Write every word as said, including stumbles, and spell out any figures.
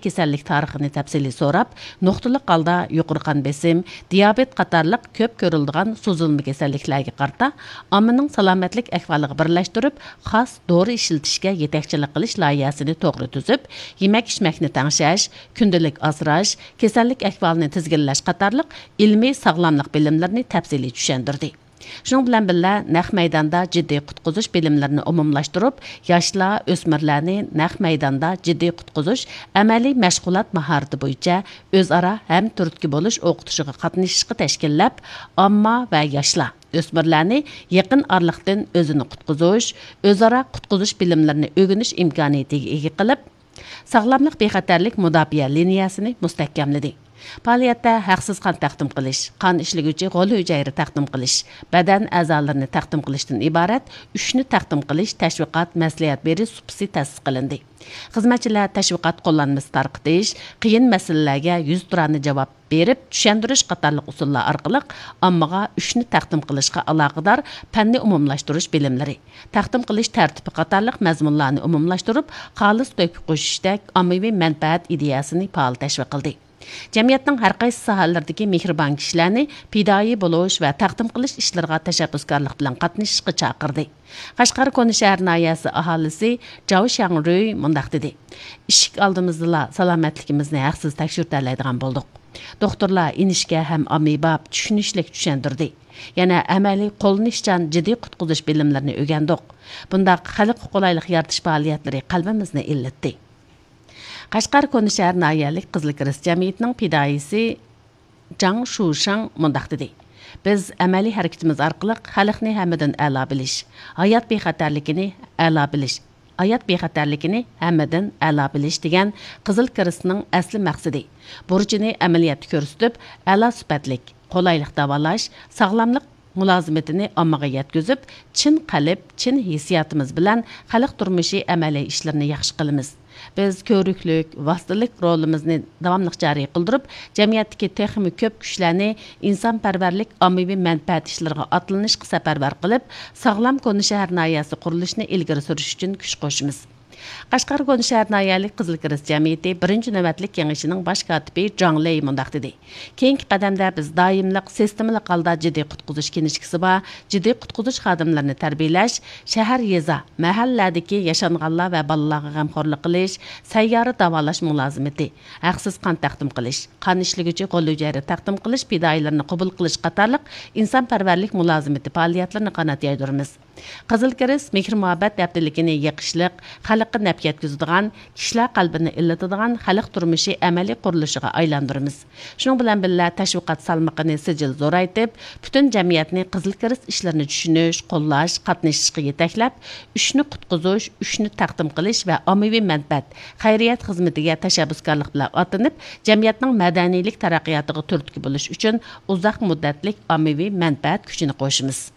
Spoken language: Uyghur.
كېسەللىك تارىخىنى تەپسىلىي سوراپ، نۇقتىلىق ھالدا يۇقىرى قان بېسىم، دىيابېت قاتارلىق كۆپ كۆرۈلىدىغان سوزۇلما كېسەللىكلەرگە قارىتا ئاممىنىڭ سالامەتلىك ئەھۋالىغا بىرلەشتۈرۈپ، خاس دورا ئىشلىتىشكە يېتەكچىلىك قىلىش لايىھەسىنى توغرا تۈزۈپ، يېمەك-ئىچمەكنى تەڭشەش، كۈندىلىك ئاسراش، كېسەللىك ئەھۋالىنى تىزگىنلەش قاتارلىق ئىلمىي ساغلاملىق بىلىملىرىنى تەپسىلىي چۈشەندۈردى. شۇنىڭ بىلەن بىللە، نەق مەيداندا جىددىي قۇتقۇزۇش بىلىملىرىنى ئومۇملاشتۇرۇپ، ياشلار، ئۆسمۈرلەرنى نەق مەيداندا جىددىي قۇتقۇزۇش ئەمەلىي مەشغۇلات ماھارىتى بويىچە ئۆزئارا ھەمتۈرتكە بولۇش ئوقۇتۇشىغا قاتنىشىشقا تەشكىللەپ، ئامما ۋە ياشلار، ئۆسمۈرلەرنى يېقىن ئارىلىقتىن ئۆزىنى قۇتقۇزۇش، ئۆزئارا قۇتقۇزۇش بىلىملىرىنى ئۆگىنىش ئىمكانىيىتىگە ئىگە قىلىپ، ساغلاملىق بىخەتەرلىك مۇداپىئە لىنىيەسىنى مۇستەھكەملىدى. پائالىيەتتە ھەقسىز قان تەقدىم قىلىش، قان ئىشلىگۈچى غول ھۈجەيرە تەقدىم قىلىش، بەدەن ئەزالىرىنى تەقدىم قىلىشتىن ئىبارەت ئۈچنى تەقدىم قىلىش تەشۋىقات مەسلىھەت بېرىش سۇپىسى تەسىس قىلىندى. خىزمەتچىلەر تەشۋىقات قوللانمىسى تارقىتىش، قىيىن مەسىلىلەرگە يۈزتۇرانە جاۋاب بېرىپ چۈشەندۈرۈش قاتارلىق ئۇسۇللار ئارقىلىق ئاممىغا ئۈچنى تەقدىم قىلىشقا ئالاقىدار پەننى ئومۇملاشتۇرۇش بىلىملىرى، تەقدىم قىلىش تەرتىپى قاتارلىق مەزمۇنلارنى ئومۇملاشتۇرۇپ، خالىس تۆھپە قوشۇشتەك ئاممىۋى مەنپەئەت ئىدىيەسىنى پائال تەشۋىق قىلدى. جەمئىيەتنىڭ ھەر قايسى ساھەلىرىدىكى مېھرىبان كىشىلەرنى پىدائىي بولۇش ۋە تەقدىم قىلىش ئىشلىرىغا تەشەببۇسكارلىق بىلەن قاتنىشىشقا چاقىردى. قەشقەر كونا شەھەر ناھىيەسى ئاھالىسى جاۋ شياڭرۈي مۇنداق دېدى: «ئىشىك ئالدىمىزدىلا سالامەتلىكىمىزنى ھەقسىز تەكشۈرتەلەيدىغان بولدۇق. دوختۇرلار ئىنچىكە ھەم ئاممىباب، چۈشىنىشلىك چۈشەندۈردى. يەنە ئەمەلىي قوللىنىشچان جىددىي قۇتقۇزۇش بىلىملىرىنى ئۆگەندۇق. بۇنداق خەلققە قولايلىق يارىتىش پائالىيەتلىرى قەلبىمىزنى ئىللىتتى.» قەشقەر كونا شەھەر ناھىيەلىك قىزىل كىرېست جەمئىيىتىنىڭ پىدائىيسى جاڭ شۇشېڭ مۇنداق دېدى: «بىز ئەمەلىي ھەرىكىتىمىز ئارقىلىق خەلقنى ھەممىدىن ئەلا بىلىش، ھايات بىخەتەرلىكىنى ئەلا بىلىش، ھايات بىخەتەرلىكىنى ھەممىدىن ئەلا بىلىش دېگەن قىزىل كىرېستنىڭ ئەسلى مەقسىتى، بۇرچىنى ئەمەلىيەتتە كۆرسىتىپ، ئەلا سۈپەتلىك، قولايلىق داۋالاش، ساغلاملىق مۇلازىمىتىنى ئاممىغا يەتكۈزۈپ، چىن قەلب، چىن ھېسسىياتىمىز بىلەن خەلق تۇرمۇشى ئەمەلىي ئىشلىرىنى ياخشى قىلىمىز. بىز كۆۋرۈكلۈك، ۋاسىتىلىك رولىمىزنى داۋاملىق جارى قىلدۇرۇپ، جەمئىيەتتىكى تېخىمۇ كۆپ كۈچلەرنى ئىنسانپەرۋەرلىك ئاممىۋى مەنپەئەت ئىشلىرىغا ئاتلىنىشقا سەپەرۋەر قىلىپ، ساغلام كونا شەھەر ناھىيەسى قۇرۇلۇشىنى ئىلگىرى سۈرۈش ئۈچۈن كۈچ قوشىمىز.» قەشقەر كونا شەھەر ناھىيەلىك قىزىل كىرېست جەمئىيىتى بىرىنچى نۆۋەتلىك كېڭىشىنىڭ باش كاتىپى جاڭ لېي مۇنداق دېدى: «كېيىنكى قەدەمدە بىز دائىملىق سىستېمىلىق ھالدا جىددىي قۇتقۇزۇش كىنىشكىسى بار، جىددىي قۇتقۇزۇش خادىملىرىنى تەربىيەلەش، شەھەر، يېزا، مەھەللىلەردىكى ياشانغانلار ۋە بالىلارغا غەمخورلۇق قىلىش، سەييارە داۋالاش مۇلازىمىتى، ھەقسىز قان تەقدىم قىلىش، قان ئىشلىگۈچى غول ھۈجەيرە تەقدىم قىلىش پىدائىيلىرىنى قوبۇل قىلىش قاتارلىق ئىنسانپەرۋەرلىك مۇلازىمىتى پائالىيەتلىرىنى قانات يايدۇرىمىز.» قىزىل كىرېست مېھىر-مۇھەببەت ھەپتىلىكىنى يېقىشلىق، خەلققە نەپ يەتكۈزىدىغان، كىشىلەر قەلبىنى ئىللىتىدىغان خەلق تۇرمۇشى ئەمەلىي قۇرۇلۇشىغا ئايلاندۇرىمىز. شۇنىڭ بىلەن بىللە، تەشۋىقات سالمىقىنى سىجىل زورايتىپ، پۈتۈن جەمئىيەتنى قىزىل كىرېست ئىشلىرىنى چۈشىنىش، قوللاش، قاتنىشىشقا يېتەكلەپ، ئۈچنى قۇتقۇزۇش، ئۈچنى تەقدىم قىلىش ۋە ئاممىۋى مەنپەئەت، خەيرىيەت خىزمىتىگە تەشەببۇسكارلىق بىلەن ئاتلىنىپ، جەمئىيەتنىڭ مەدەنىيلىك تەرەققىياتىغا تۈرتكە بولۇش ئۈچۈن ئۇزاق مۇددەتلىك ئاممىۋى مەنپەئەت كۈچىنى قوشىمىز.